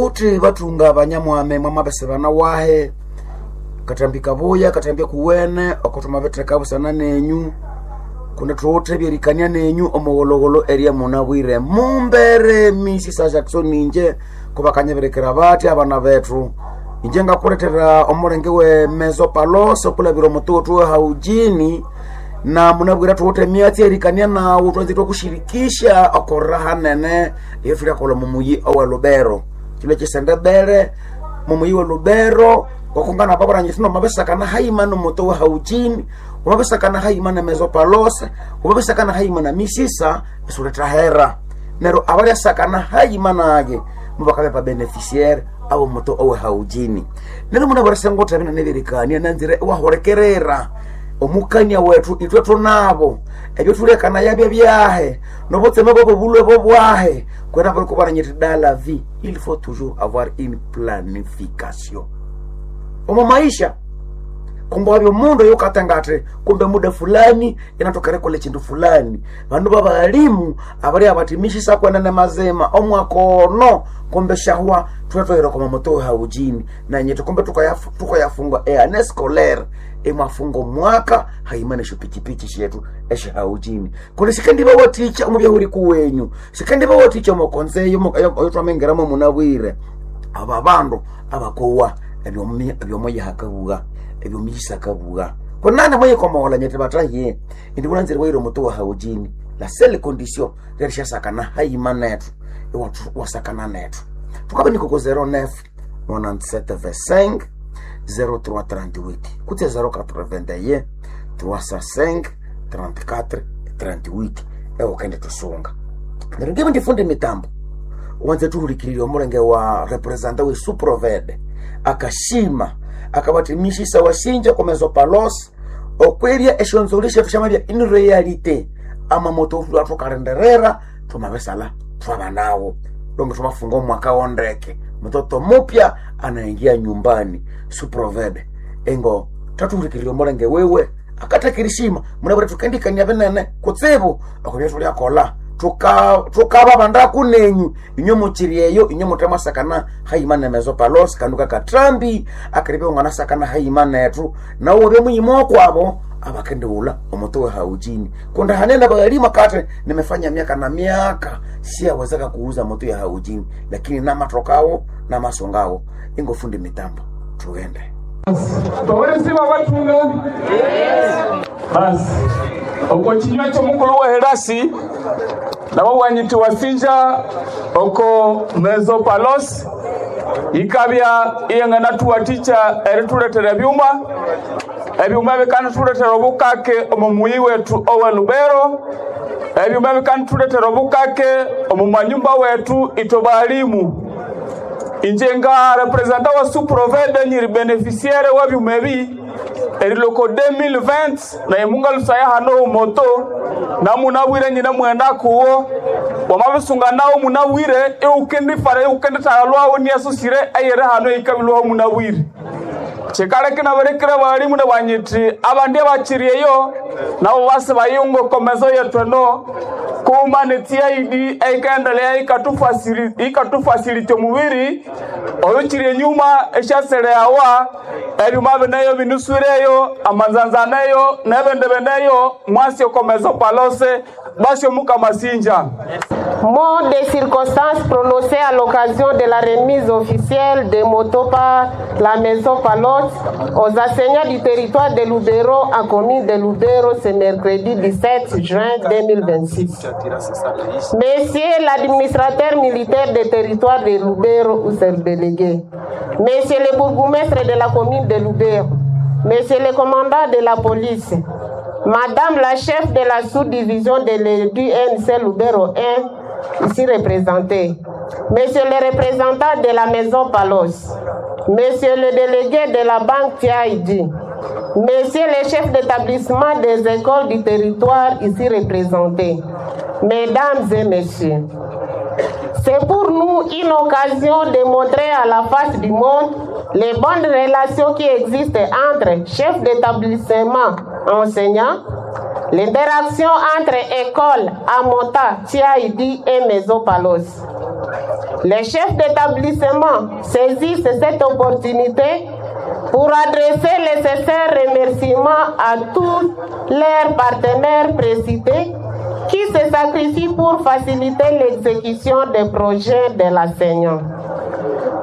Uthi bathunga banyamwami mwamabisibana wahe katambi kabuya katambi kuwene oko thwamabitheka busana nenyu kundi thuwithe ebyerikania nenyu omugholhogholo erya munabwire mumbere Mrs. Jackson inje kubakanyibirikira bathi abana bethu inje ngakulethera omulenge we mesopalos okulabira omututu we haujini na munabwire thuwithe emyatsi erikania nawu thwanzire twakushirikisha okorera hanene iyo thulyakolha omumuyi owe Lubero kilo kyisendebere mumuyi we Lubero wakungana babarangi thino mabisakana haima nomuto wa haujini wamabisakana haima na mesopalos wamabisakana haima na misisa isuletahera neryo abalyasakana haima nage mubakabya babeneficiaire abo muto owe haujini neryo munabwire sengotha binene byerikania nanzire iwahulikerera omukania wethu ithwe thunabo ebyo thulekanaya byabyahe nobutseme bwabo bulwe bobwahe kwena bali kubaranyiti dans la vie il faut toujours avoir une planification omo maisha kumbe wabya omundu oyukatangati kumbe muda fulani inatokere kola chindu fulani bandu babalimu abalya bati mishisa kwenene mazima omwaka ono kumbe shahwa thwatwahira kwa mamoto haujini nanyethu kumbe tukayafunga eane scolaire imwafunga omwaka haima nesyopichipichi syethu esyahaujini kundi sikandibawathikya omu byahuri kuwenyu sikandibawathikya omokonzeyo oyotwamengeramu munabwire aba bandu abakowa ebyomoyihakabugha ebyomuyisakabugha kunani mwiyikomola nyete batahiye indi kunanzire waire omutu wa haujini la sele condition rerishasakana haima nethu iwasakana nethu tukabe nikoko 09 97 25 0338 kutse 081 305 34 38 ewo kende tusunga neryo ngibe ndifunde mitambo wanze tuhulikirire omulenge wa representa we suprovede akashima akabati mishisa wasinja kwa mesopalos okwebya esyonzoli syethu syamabya in reality amamoto athukalenderera thumabisala thwaba nawo longe thumafunga omwaka wondeke mtoto mupya anaingia nyumbani suprovede engo tathuhulikirire omulenge wewe akathakirishima munabwire thukendikania binene kutsibu okubya thulyakolha thukaba bandaku nenyu inywe mukiri eyo inywe muthemasakana haima nemesopalos kandu kakathambi akiribya unganasakana haima nethu nawu wabya muyima okwabo abakendiwula omuto we haujini kundi hanene balima kati nimefanya miaka na miaka siyawezeka kuuza moto ya haujini lakini namathokawo namasongawo ingofundi mitambo thughende towelesiwa batunga basi oko chinywa chomukulu wa helasi nabo wanyiti wasinja oko mesopalos ikabya iyengana tuwaticha erituletera ebyuma ebyuma bikanituletera obukake omu muyi wetu owe Lubero ebyuma bikanituletera obukake omu manyumba wetu ito balimu inje nga representa wa suprovede nyiri beneficiaire wa byuma ebi eriloko 2020 naye mungalusaya hano omoto namunabwire nyina mwenda kuwo wamabisunga nawo munabwire iukendifara iukendithala lwawo niyasusire eyere hano ikabilwaho munabwire chikaleke naberekere balimu nabanyiti abandi abachirieyo nabo basi bayunga okomezo yetu eno kuma netiaidi eikaendelea ikatufasilita omubiri oyo kiri enyuma esyaseleawa ebyuma bineyo binuswireyo amanzanzaneyo nebindi bineyo mwasi okomezo palose basi omukamasinja Mot des circonstances prononcées à l'occasion de la remise officielle des motos par la maison Palotte aux enseignants du territoire de Lubero en commune de Lubero ce mercredi 17 juin 2026. Monsieur l'administrateur militaire du territoire de Lubero ou ses délégué, Monsieur le bourgmestre de la commune de Lubero, Monsieur le commandant de la police, Madame la chef de la sous-division de l'UNC Lubero 1, ici représentée, Monsieur le représentant de la maison Palos, Monsieur le délégué de la banque TID, Monsieur le chef d'établissement des écoles du territoire ici représenté, Mesdames et Messieurs, c'est pour nous une occasion de montrer à la face du monde les bonnes relations qui existent entre chefs d'établissement enseignants, l'interaction entre école, Amota, TID et Maison Palos. Les chefs d'établissement saisissent cette opportunité pour adresser les sincères remerciements à tous leurs partenaires précités qui se sacrifient pour faciliter l'exécution des projets de l'enseignant.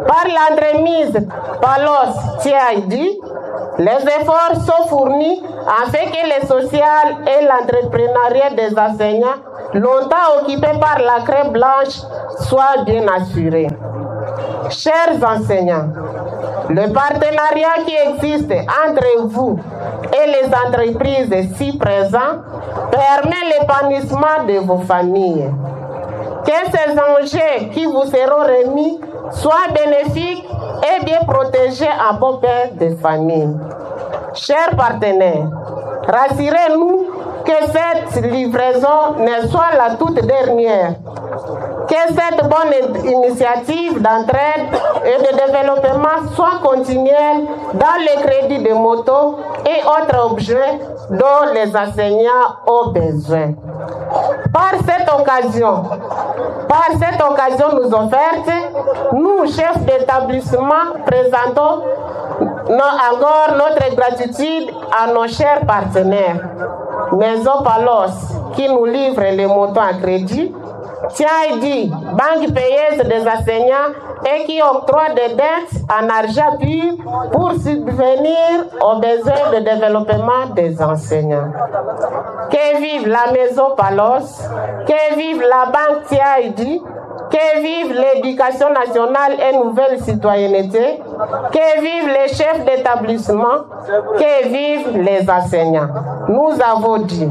Par l'entremise Palos TID, les efforts sont fournis afin que le social et l'entrepreneuriat des enseignants, longtemps occupés par la craie blanche, soient bien assurés. Chers enseignants, le partenariat qui existe entre vous et les entreprises si présentes permet l'épanouissement de vos familles. Que ces enjeux qui vous seront remis soient bénéfiques et bien protégés en bon père de famille. Chers partenaires, rassurez-nous que cette livraison ne soit la toute dernière. Que cette bonne initiative d'entraide et de développement soit continuelle dans le crédit de motos et autres objets dont les enseignants ont besoin. Par cette occasion, par cette occasion nous offerte, nous, chefs d'établissement, présentons encore notre gratitude à nos chers partenaires. Maison Palos, qui nous livre les motos à crédit, TID, banque payeuse des enseignants et qui octroie des dettes en argent pur pour subvenir aux besoins de développement des enseignants. Que vive la Maison Palos, que vive la banque TID, que vive l'éducation nationale et nouvelle citoyenneté, que vive les chefs d'établissement, que vive les enseignants. Nous avons dit,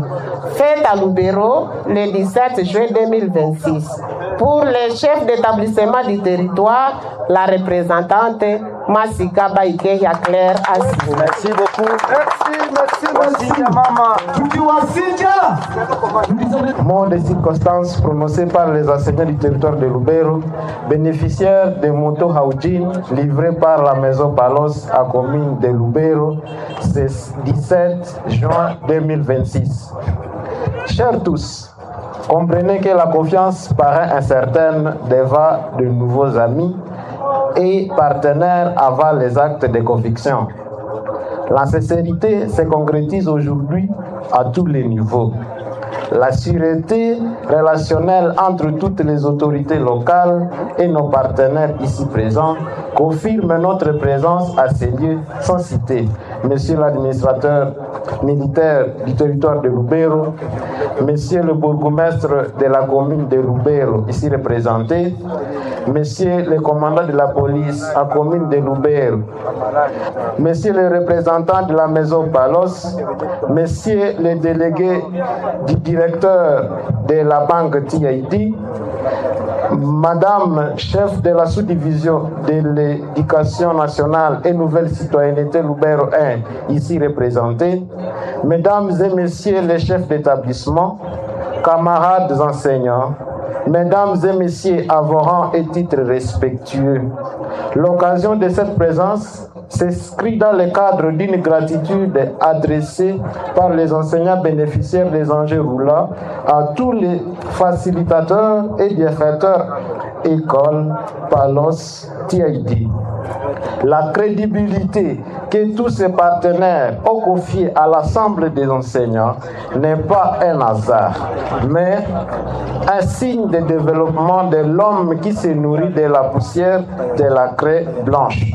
fête à Lubero le 17 juin 2026. Pour les chefs d'établissement du territoire, la représentante Masika Baikeya Claire Assi. Merci beaucoup. Merci, merci, merci. Wasinja mama. Tukiwasinja. Mot des circonstances prononcées par les enseignants du territoire de Lubero, bénéficiaires des motos Haoujin livrées par la maison Palos à commune de Lubero, ce 17 juin 2026. Chers tous, comprenez que la confiance paraît incertaine devant de nouveaux amis et partenaires avant les actes de conviction. La sincérité se concrétise aujourd'hui à tous les niveaux. La sûreté relationnelle entre toutes les autorités locales et nos partenaires ici présents confirme notre présence à ces lieux sans citer Monsieur l'administrateur militaire du territoire de Lubero, Monsieur le bourgmestre de la commune de Lubero ici représenté, Monsieur le commandant de la police à commune de Lubero, Monsieur le représentant de la maison Palos, Monsieur le délégué du directeur de la banque TID, Madame chef de la sous-division de l'éducation nationale et nouvelle citoyenneté Lubero 1, ici représentée, Mesdames et Messieurs les chefs d'établissement, camarades enseignants, Mesdames et Messieurs avorants et titres respectueux, l'occasion de cette présence s'inscrit dans le cadre d'une gratitude adressée par les enseignants bénéficiaires des enjeux roulants à tous les facilitateurs et bienfaiteurs école Palos TID. La crédibilité que tous ces partenaires ont confiée à l'ensemble des enseignants n'est pas un hasard, mais un signe de développement de l'homme qui se nourrit de la poussière de la craie blanche.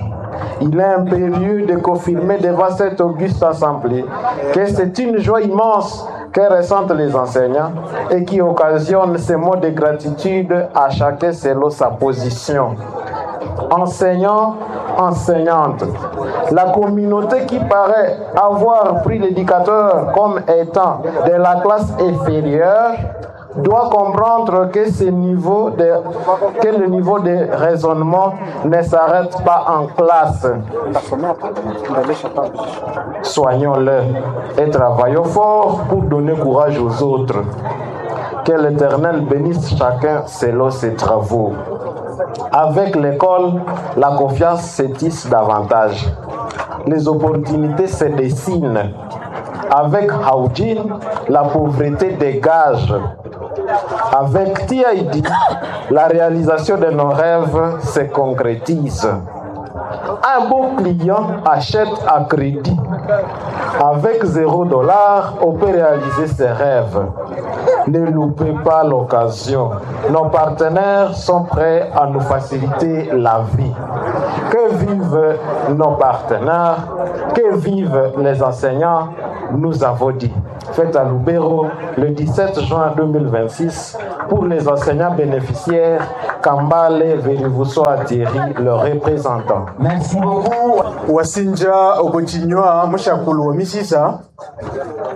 Il est impérieux de confirmer devant cette auguste assemblée que c'est une joie immense que ressentent les enseignants et qui occasionne ces mots de gratitude à chacun selon sa position. Enseignants, enseignantes, la communauté qui paraît avoir pris l'éducateur comme étant de la classe inférieure doit comprendre que, ce niveau de, que le niveau de raisonnement ne s'arrête pas en classe. Soignons-le et travaillons fort pour donner courage aux autres. Que l'Éternel bénisse chacun selon ses travaux. Avec l'école, la confiance se tisse davantage. Les opportunités se dessinent. Avec Haoujin, la pauvreté dégage. Avec TID, la réalisation de nos rêves se concrétise. Un bon client achète à crédit. Avec 0 dollar, on peut réaliser ses rêves. Ne loupez pas l'occasion. Nos partenaires sont prêts à nous faciliter la vie. Que vivent nos partenaires, que vivent les enseignants, nous avons dit. Faites à Lubero le 17 juin 2026 pour les enseignants bénéficiaires, Kambale Verivusoa Thierry, le représentant. Merci beaucoup. Wasinja okochinywa mushakulu wa misisa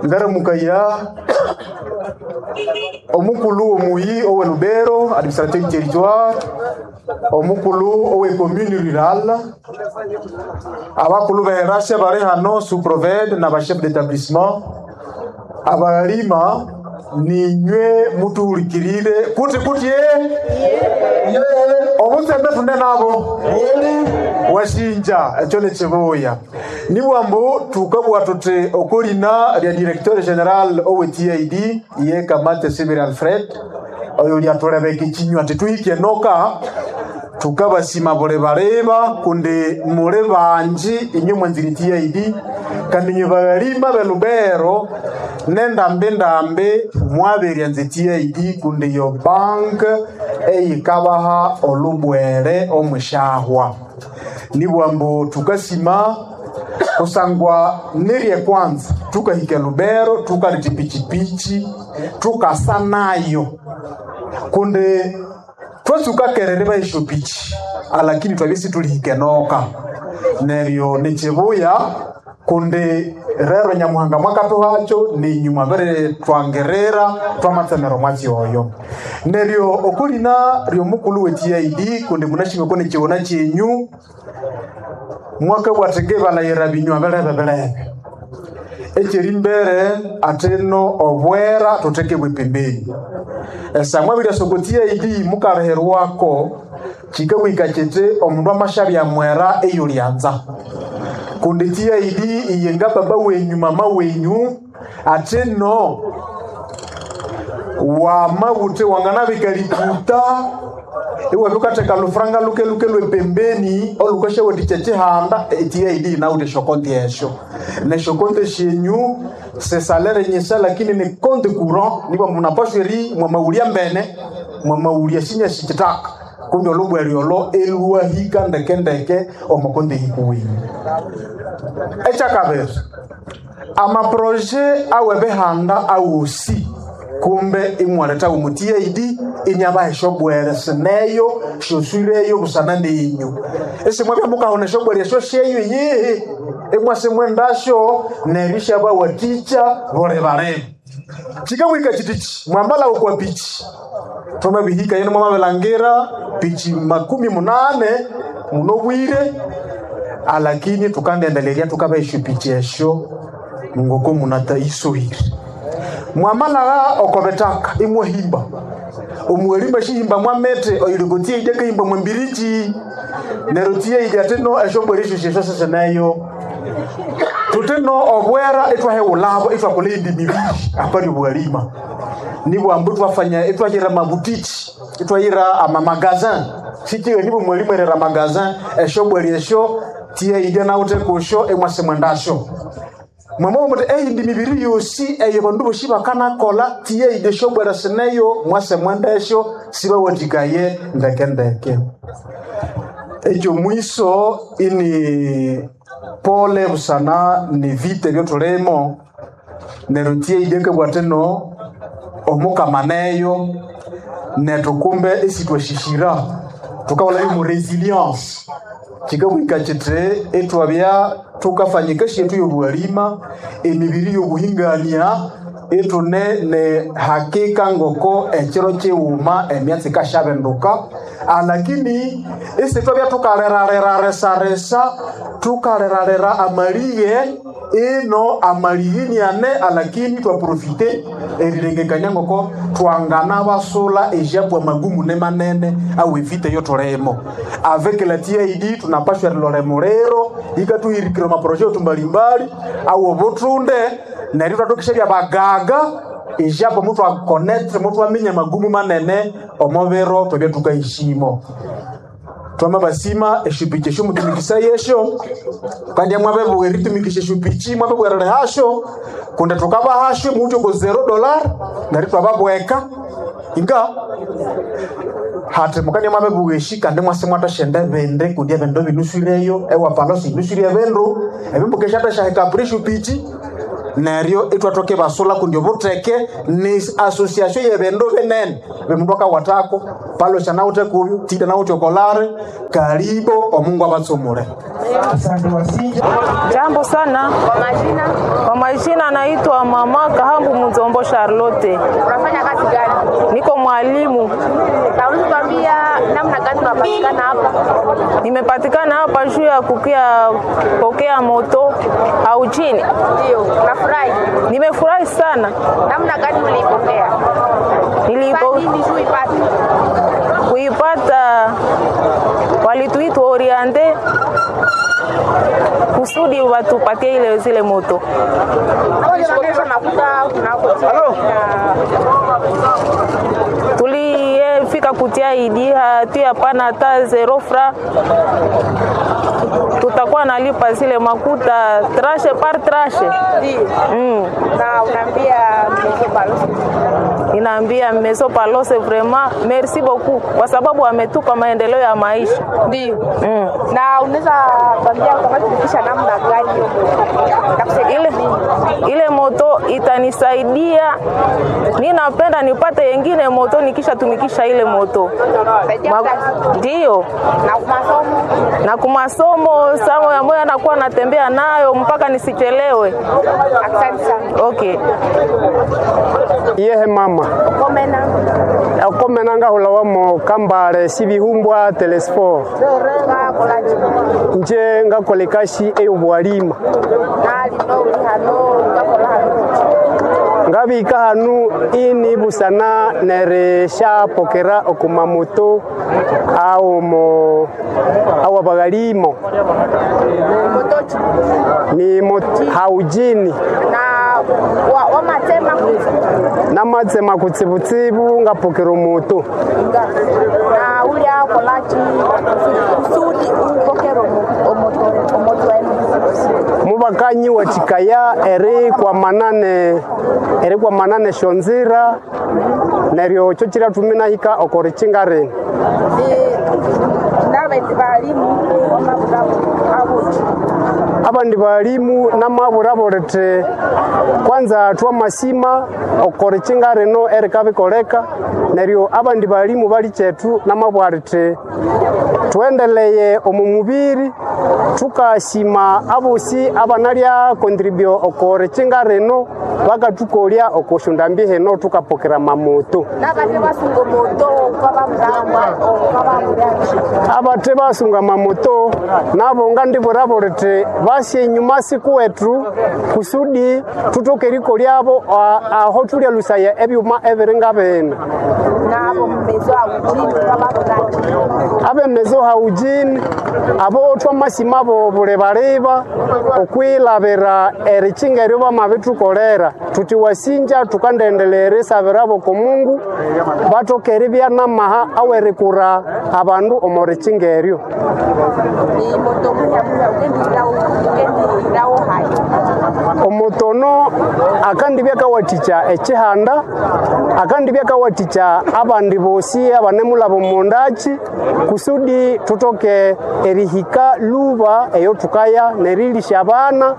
ngaramukaya omukulu omuyi owe Lubero, administrateur du territoire, omukulu owe commune rurale, abakulu beherasya bari hano, sous-proved na ba chef d'établissement, abalima, ninywe mutuhulikirire kuti kuti ye obutsembe tune nabo washinja ekyo nekibuya nibwambu tukabwa tuti okolina lya directeur général owe TID ye Kamate Sibiri Alfred, oyo lyatulebeka ekinywa tituhike noka. Tukabasima buli baleba kundi muli banji inywe mwanzire TID, kandi inywe balima belubero nendambi ndambi mwaberyanze TID, kundi yo bank eyikabaha olubwere omushahwa. Nibwambu tukasima kusangwa nirye kwanza tukahika Lubero, tukaleta pichipichi tukasa nayo, kundi twasukakerere baisho pichi, alakini twabisi tulihikenoka neryo nichibuya kundi rero Nyamuhanga mwakatuhacho ninyuma bere twangerera twamatsemero mwatsi oyo. Neryo okulina ryomukulu we TID, kundi munashingako nechiwona chenyu mwakabwatenge balayira binywa belebe belebe ekyeri mbere ateno obwera tutekebwe pembeni esamwa bilya TID mukaleherwako kikawika kiti omundu amashabya mwera eyo lyanza, kundi TID iyenga baba wenyu, mama wenyu, ateno wamabute wanganabika likuta iwabikateka lufranga luke luke lwepembeni olukashaweticha chihanda. TID nawute shokonti esho neshokonte shenyu sesalere nyesa, lakini ni compte courant. Niba munapashwa eri mwamaulia mbene mwamaulia shinya shichitaka kumbe olubweri olo elwahika ndekendeke omukonde hikuwinyu. Ekyakabiri, amaproje awebehanda awosi kumbe imwaleta omu TID inyabaha eshobwere sineyo shoswireyo busana nenyu esimwabya mukahona eshobwere esyo shenyu yihi imwasimwendasyo neryo isyabawatikya buli balebe. Kikawika kitichi mwambala okwa pichi twamabihika yene mwamabilangira pichi 80 munobwire, alakini tukandendelerya tukabaisyo pichi esyo ngoko munataisuhire. Mwamalagha oko bitaka imwahimba omuwalima shihimba mwamete oyilogotie ije kahimba mwambiriji neryo tie ije atino esyombwere esyo syesyo sisineyo tutino obwera itwahewulabo itwakola indi mibiri apali obwalima. Nibwambu twafanya itwahira mabutiki itwahira amamagazin sikiwe nibo mwalimu erera magazin esyombwere esyo tie ije nawute kusyo imwase mwendasyo mwamwa muti eyindi mibiri yosi eyo bandu bosi bakanakola tiye ide shobwera sineyo mwase mwendesyo sibawathikaye ndekendeke. Ekyo mwiso ini pole busana ni vita ebyotulimo neryo tiye ide kebwatino omukamaneyo nethu kumbe esitwashishira tukawula imu resilience kikabwika kiti itwabya tukafanyika shetu yobuhalima emibiri yobuhingania itune ne hakika ngoko ekiro kiwuma emyatsi ikashabenduka, alakini isitwabya tukalerareraresa tukalerarera amalighe ino amalighe niane, alakini twaprofite erilengekania ngoko twangana basula ejabwa magumu ne manene au evite yotulemo. Avec la TID tunapashwa rilore muliro ikatuhirikira maproje yetu mbalimbali au obutunde neryo twatokesha bya bagaga. Ejapo mutwakonetre mutwaminya magumu manene omubiro twabya tukahishimo. Twamabasima eshupichi esyo mutumikisa yesyo kandi mwabebugha eritumikisha eshupichi mwabebugha hasho kundi tukabahasho muwithe oko $0 neryo twababweka inga hati mukandya mwabebugha eshi kandi mwase mwatashenda ebindi kundi ebindu binuswireyo ewapalosi inuswire ebindu ebimbuka esyathashahika apuri eshupichi neryo itwathoka ibasula kundi obutheke ni association yebindu binene bimundu akawatako palosha nawuthe kubyo tida nawuthe okolare karibo omungu abatsumule. Asante wasinja. Jambo sana. Kwa majina, Kwa majina naitwa Mama Kahambu Muzombo Charlotte. unafanya kazi gani? Niko mwalimu. Na unaweza kuambia namna gani unapatikana hapa? Nimepatikana hapa juu ya kukia pokea moto au chini. Ndio, unafurahi? Nimefurahi sana. Namna gani uliipokea? Nilipo Kwa nini juu ipate? kuipata walituitwa oriente kusudi watupatie ile zile moto. Ulijikopesha makuta kunako Tuliyefika kutia idi hatu hapana hata zero fra, tutakuwa nalipa zile makuta trashe par trashe. Ndio. Na unaambia Mzee Balozi. Inaambia Meso Palose vraiment merci beaucoup kwa sababu ametupa maendeleo ya maisha. Ndio. Na unaweza kuambia utakachofikisha namna gani hiyo moto? Itakusaidia Ile, nini? ile moto itanisaidia, ninapenda nipate yengine moto nikishatumikisha ile moto. Saidia kazi. Ndiyo, Na masomo. na kumasomo samo ya moyo anakuwa natembea nayo mpaka nisichelewe. Asante sana. Okay. Yehe mama Komena. okomena ngahula wamo kambale sibihumbwa telesfor Ngakolachi. nje ngakola ekasi ey'obwalima Na lino uli hano ngakola hano. ngabika hanu ini busana nerishapokera okumamoto aomo awa baghalimo Motochi. ni haujini Na wa, wa matema namatsema kutsibutsibu ngapokera omoto nga na uli akolachi kusudi upokere omoto omoto wenu. mubakanyi wathikaya eri kwamanane shonzira neryo kyo kirathumi nahika okorikinga rino. N'abendi balimu wamabulabo abuki. Abandi balimu namabura rithi kwanza twamasima okorikinga rino erikabikoleka neryo abandi balimu bali kyethu namabwa rithi thuendeleye omu mubiri thukasima abosi abanalya kontribio okorikinga rino bakathukolya okosyondambi hino thukapokera mamoto. N'abate basunga omoto kwababulabo kwababulaki. Abathe basunga mamoto nabo ngandibwirabo rithi basye enyuma sikuwethu kusudi thuthoke erikolyabo aho thulyalusaya ebyuma ebiri nga bino. Nabo mumezo awujini kwababulaki. Abemezo haujini abo thwamasima abo bulibaliba okwilabira erikinga eryo bamabithukolera thuthi wasinja thukandendelea erisabirabo oko Mungu bathoke eribya namaha awerikura abandu omo rikinga eryo. Ni moto munya munya ugendirawo ugendirawo hayi. Omutono akandibya akawathikya ekihanda akandibya akawathikya abandi bosi abanemulaba omundaki kusudi thuthoke erihika luba eyo thukaya nerilisya abana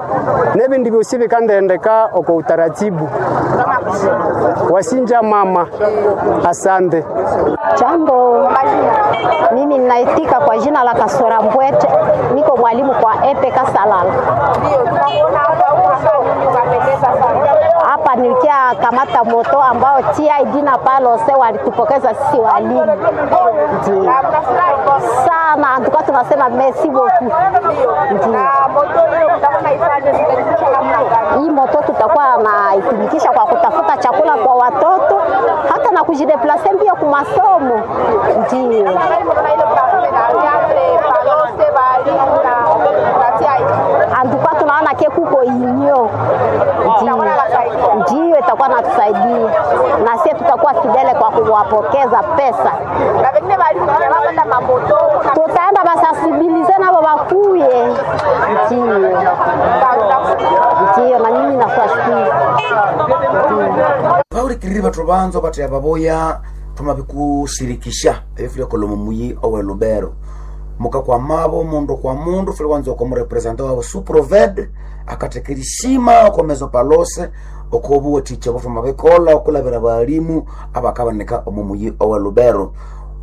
nebindi byosi bikandendeka oko utaratibu. Wasinja mama, asante. Jambo, mimi ninaitika kwa jina la Kasora Mbwete, niko mwalimu kwa Epe Kasalala. Ndio tunakuona hapa unafanya nini ukapendeza sana. Hapa nilikia kamata moto ambao TID na Palose walitupokeza sisi walimu. Ndio. Na mnafurahi Sana, tulikuwa tunasema merci beaucoup. ndio. Na moto hiyo mtakuwa naifanya mtaifanya namna gani? Hii moto tutakuwa naitumikisha kwa kutafuta chakula kwa watoto hata na kujideplase mbio kwa masomo. Ndio. Namna gani mnaona ile partenariat Palose walimu na TID? Antuka tunaona ke kuko inyo. Ndio. Itakuwa inasaidia. Ndio itakuwa natusaidia. fidele kwa kuwapokeza pesa. Tutaenda basensibilize nabo bakuye. Ndiyo, ndiyo, na mimi nakuwashukuru. Vahurikiriri vathu vanzo vattheya vavoya thwamabikusirikisha ebyo kolha omo muyi owe Lubero. Mukakwamabo mundu kwa mundu fuli wanza oko murepresenta wabo suproved akatheka erishima oko meso palose oko obuwathikya obo thwamabikolha okulabira abalimu abakabanika omo muyi owe Lubero.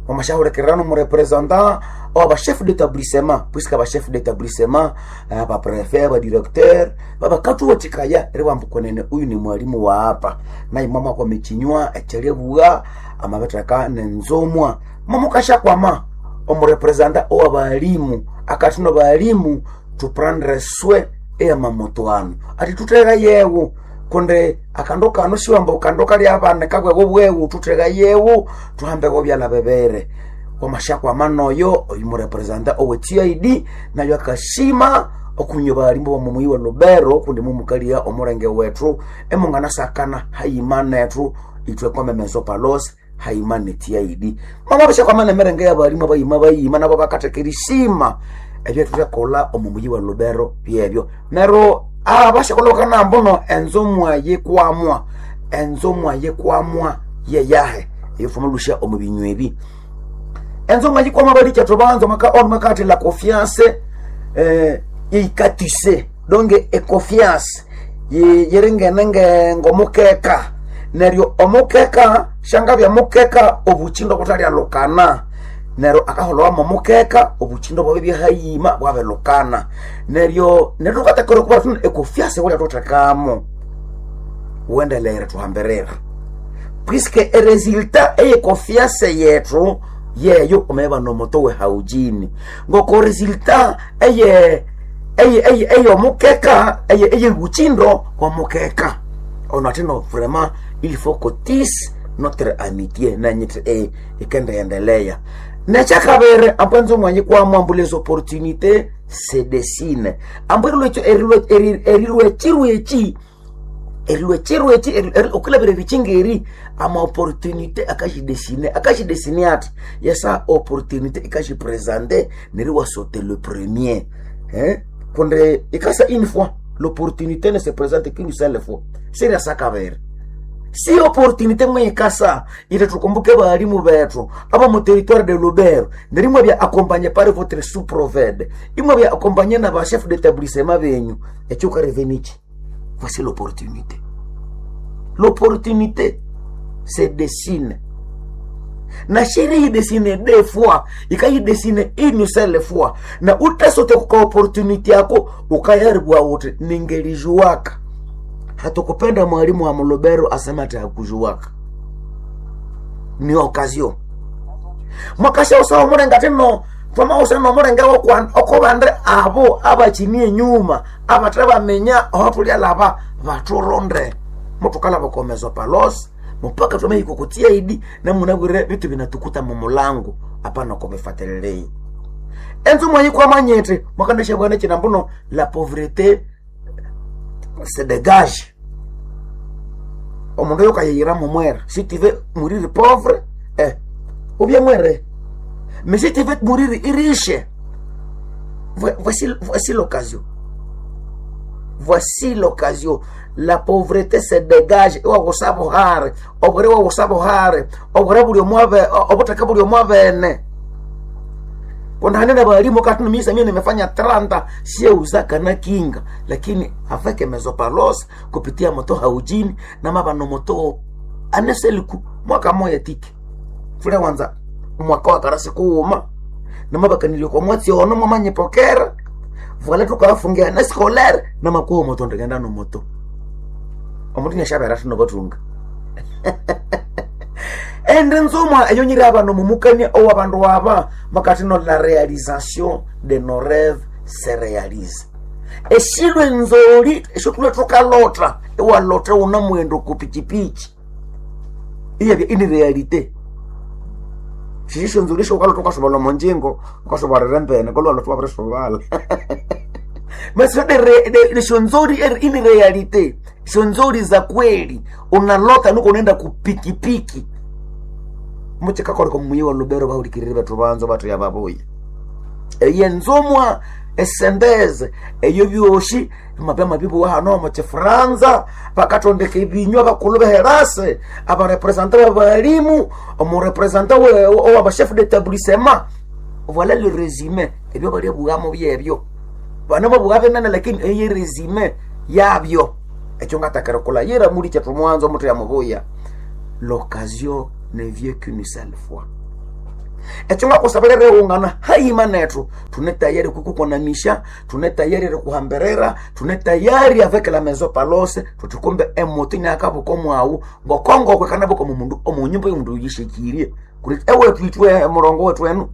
Wamashahurikirira nomurepresenta owa chef d'établissement, puisque aba chef d'établissement, aba préfet, aba directeur babakathuwathikaya eribamba kwenene uyu ni mwalimu wa apa, naye mwamakwama ekinywa ekyeribugha amabitheka nenzumwa. Mwamukashakwama omurepresenta owa balimu akathi no balimu tuprendre soin eyamamoto anu, athi thutheka yewu kundi akandu kano siwamba kandu kali abana kabwebo bwewu, thutheka yewu thuhambeko byalha bibiri. Wamashakwama noyo oyu murepresenta owe TID nayo akashima okunywa balimu bomu muyi wa Lubero kundi mumukalia omulenge wethu emunganasakana hayima nethu ithwe kwamemezo palos hayima ne TID. Mama bashakwama nemirenge yabalimu abayima bayima nabo bakatheka erishima ebyo thuthakolha omu muyi wa Lubero byebyo. Neryo abashakolha bakanamba no enzomwa yikwamwa, enzomwa yikwamwa yeyahe eyofumalusha omu binywa ebi. Enzomwa yikwamwa balikya thubanza maka ono makathi la confiance yikatise donc e confiance yiringene ngomukeka, neryo omukeka shangabya mukeka obuchindo buthalyalukana, neryo akaholowamo omukeka obuchindo bwabe byahayima bwabelukana, neryo neryo thukathekera okuba thuno econfiance wulya thuthekamo wendelere thuhambirira puisque eresultat eye confiance yethu yeyo omeba nomoto we haujini ngoko resultat eye eye eye omukeka eye eye buchindo wa mukeka ono atino vraiment il faut qu'on tisse notre amitié nanyiti ikende endelea. Nekyakabiri ambu mwanyi kwamwa ambu les opportunités se dessinent ambu erilwekirweki erilwekirweki okulabira erikyingeri ama opportunité akashidesine akashidesine ati yesa opportunité ikashipresente neri wasote le premier hein kundi ikasa une fois l'opportunité ne se présente qu'une seule fois siriasakabiri si opportunité mwikasa ite tukumbuke balimu bethu aba mu territoire de Lubero nerimwe bya accompagné par votre sous-proved imwe bya accompagné na ba chef d'établissement benyu ekyo karevenichi. Voici l'opportunité. L'opportunité se dessine. Na chérie dessine deux fois, ikayi dessine une seule fois. Na utasote kwa opportunité yako ukayaribwa wote ningelijuaka. Hatukupenda mwalimu wa Mulubero asema ati hakujuaka. Ni occasion. Mwakasha usawa murenga teno twama usana murenga okobande abo abachinie nyuma abathe bamenya aho tulya laba baturonde mutukala bakomezo palos mpaka twamaikukutia idi namunabwire vitu vinatukuta mumulango apana kobifatililei enzu mwanyikwamanyete mwakandisha bwana chinambuno la pauvreté se dégage omundu yokayeyira mumwere si tu veux mourir pauvre ou bien mwere mais si tu veux mourir riche, voici, voici l'occasion. Voici l'occasion. La pauvreté se dégage. Iwakusabuhare obure wakusabuhare obure buli omwabe obutaka buli omwabene kundanene balimu kati mimi mimi nimefanya 30 sie uzaka na kinga lakini afeke mezopalos kupitia moto haujini na mabano moto aneseliku mwaka moya tiki fule wanza mwaka wa karasi kuuma namabakanilio kwa mwatsi ono mwamanyipokera vwala tukawafungia na scolaire na makuwa moto ndikenda no moto omuntu nyashabera tino batunga ende nzomwa eyo nyiri abano mumukania owa bandu aba makati no la réalisation de nos rêves se réalise eshilwe nzoli esho tule tukalota ewalota una mwendo kupichipichi iyabya ini realite shisho nzuri sho ukalotoka sobala monjingo ukasobarere mbene kolwa lotwa bre sobala mais de de shonzori ini realite shonzori za kweli unalota nuko unaenda kupikipiki Muchikakoleka omuyi wa Lubero, bahulikirire bethu banzo bathu babuya eyenzumwa esendeze eyo byoshi mabya mabibuwa hano omu kifuranza. Bakatondeka ebinywa bakulu beherase, abarepresenta babalimu, omurepresenta owabachef d'établissement. Voilà le résumé ebyo balyabughamo byebyo. Bana babuga binene, lakini eye résumé yabyo ekyo ngatakere kulayira muli kyethu mwanzo omutu yamubuya. L'occasion ne vient qu'une seule fois. Ekyo ngakusabira righungana hayima nethu, tune tayari kukukonamisha, tune tayari rikuhamberera, tune tayari avec la maison Palose. Tuti kumbe emoto inakabuka omwawu ngokongokwe kanabuka omumundu omunyumba yomundu yishekirie kuri ewethu itwe murongo wethu enu.